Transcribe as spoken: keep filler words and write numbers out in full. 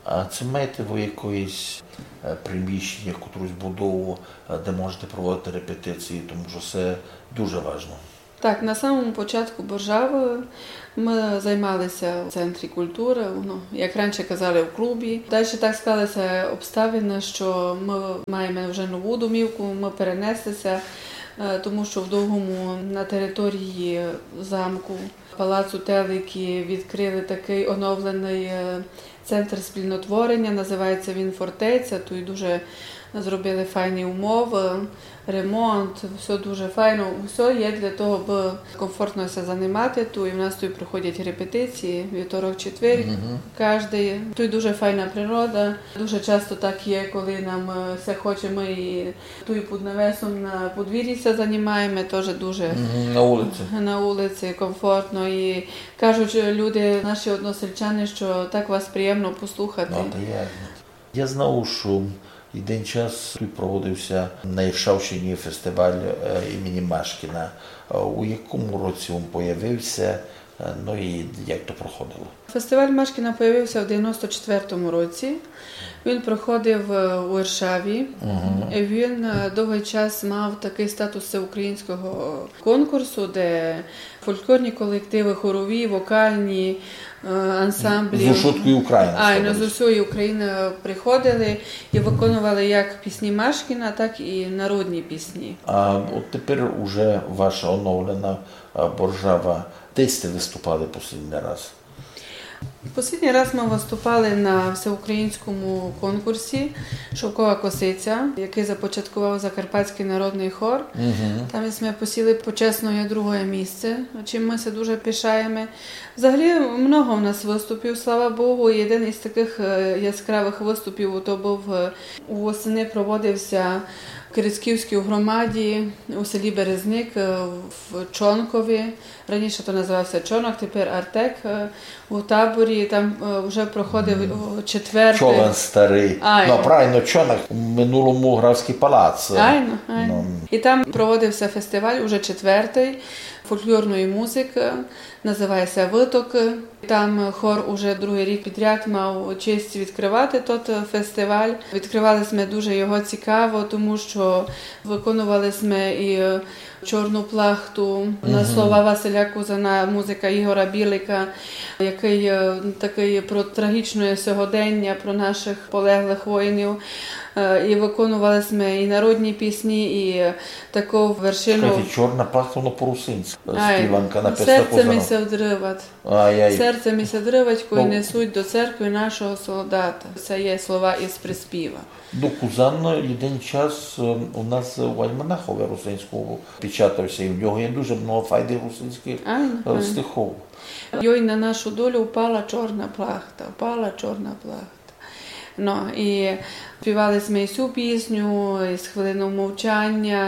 А ци маєте вы якоєсь, е, приміщеня, котрусь будову, е, де можете проводити репетиції, тому што се дуже важно. Так, на самому початку Боржавы мы займали ся в центрі културы, ну, як раніше казали, у клубі. Дальше так склали ся обставины, што мы маєме вже нову домівку, мы перенесли ся, е, тому што в Довгому на території замку, палацу Теликы відкрыли такый оновленый, е, центр спільнотвореня, называється він Фортеця. Туй дуже зробили файні умовы, ремонт, всьо дуже файно. Всьо є для того, абы комфортно ся занимати туй. У нас туй проходять репетиції вівторок, четвер, каждый. Туй дуже файна природа. Дуже часто так є, коли нам, е, ся хоче, мы і туй під навесом на подвір'ї ся занимаєме, тоже дуже на улици комфортно. І кажуть люди, наші односельчани, што так вас приємно послухати. Но, то є. Я знав, што єден час туй проводив ся на Іршавщині фестиваль, е, імені Машкіна. Е, у якому році він появив ся, е, но і як то проходило? Фестиваль Машкіна появив ся в девяносто четвертому році. Він проходив, е, у Іршаві. Він, е, довгый час мав такый статус всеукраїнського конкурсу, де фольклорні колективы, хорові, вокальні, е, ансамблі. З усьої України. Айно, з усьої України приходили і виконували як пісні Машкіна, так і народні пісні. А от тепер уже ваша оновлена, е, Боржава. Де сьте выступали послідній раз? Послідній раз мы выступали на всеукраїнському конкурсі «Шовкова косиця», якый започаткував Закарпатськый народный хор. Там сьме посіли почесноє другоє місце, чим мы ся дуже пишаєме. Взагалі, много в нас выступів, слава Богу. І єден із такых, е, яскравых выступів, то быв, е, у восени проводив ся в Кирицьківській громаді у селі Березник, е, в Чонкові. Раніше то называв ся Чонок, тепер Артек, е, у таборі. Там, е, вже проходив, о, четвертый. Човен старый. Айно. Но, правильно, Чонок, в минулому Графськый палац. Айно, айно. Но. І там проводив ся фестиваль уже четвертый фольклорної музикы, называє ся «Вытокы». Там хор уже другый рік підряд мав честь відкрывати тот фестиваль. Відкрывали сьме дуже його цікаво, тому што виконували сьме і «Чорну плахту» на слова Василя Кузана, музика Ігора Білика, якый, е, такый про трагічне сьогодення, про нашых полеглых воїнів. Е, і виконували сьме і народні пісні, і таку вершину. Чекайте, «Чорна плахта», воно по-русинськы. Ай, співанка написана «Серце ми ся вдрывать». Ай-яй. «Серце ми ся вдрывать, кой несуть до церкви нашого солдата». Се є слова із приспіва. Но, Кузан єден час, е, у нас у альманахови русинському печатав ся, і в нього є дуже много файных русинськых, е, стихов. Йой, на нашу долю впала чорна плахта, впала чорна плахта. Но, і співали сьме і сю пісню, і з хвилинов мовчаня,